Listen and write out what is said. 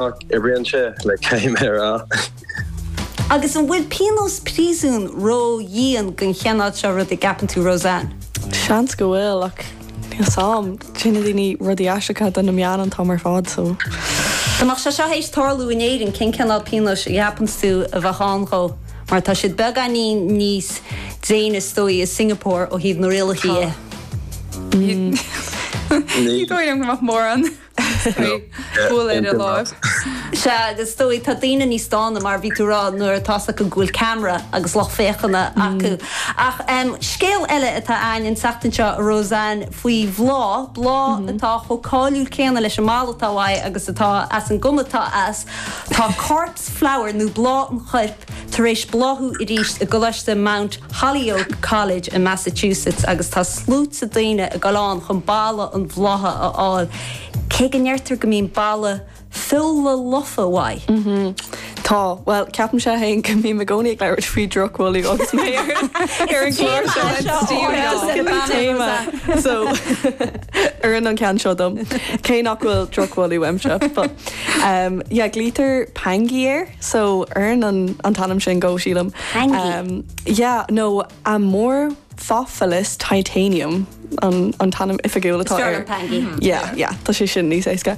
nach oibríonn sé, like, caithfidh mé a rá. Agus an bhfuil pionós príosúin ró-dhian don chineál seo ruda, an gceapann tú, Roseanne? Seans go bhfuil, ach níl 's a'm. Déanann daoine rudaí aisteacha do na meáin an t-am ar fad, so. Dá mbeadh sé seo théis tarlú in Éirinn, cén cineál pionóis a cheapann tú a bheadh ann dhó? Mar tá siad beagáinín níos déine is dóigh i Singapore ó thaobh na rialacha dhe. Ní dóigh liom go mbeadh mórán bualadh ar a láimh. Sea, agus is dóigh tá daoine níos dána mar bhí tú a rá nuair atá 's acu go bhfuil ceamara agus lucht féachana acu. Ach scéal eile atá a'ainn an tseachtain seo, a Roseanne, faoi bhláth, bláth atá chomh cáiliúil céanna leis an mbail atá uaidh agus atá as an gcuma atá as. Tá corpse flower nó bláth an choirp tar éis bláthú arís i gColáiste Mount Holyoke College i Massachusetts agus tá sluaite daoine ag dul ann chun boladh an bhlátha a fháil, cé go ndeirtear go mbíonn boladh feola lofa uaidh. Tá, bhuel, ceapaimse féin go mbím i gcónaí ag labhairt faoi drochbholadh agus mé ar an gclár seo. Téama. So, oireann an ceann seo dom. Cé nach bhfuil drochbholadh uaimse. But, um, yeah, glaoitear pangie air. So, oireann an an t-ainm sin dó, sílim. Pangie? Yeah, nó Amorphophallus titanium an an t-ainm oifigiúil atá air. Is fearr liom pangie. Yeah, yeah, tá sé sin níos éasca.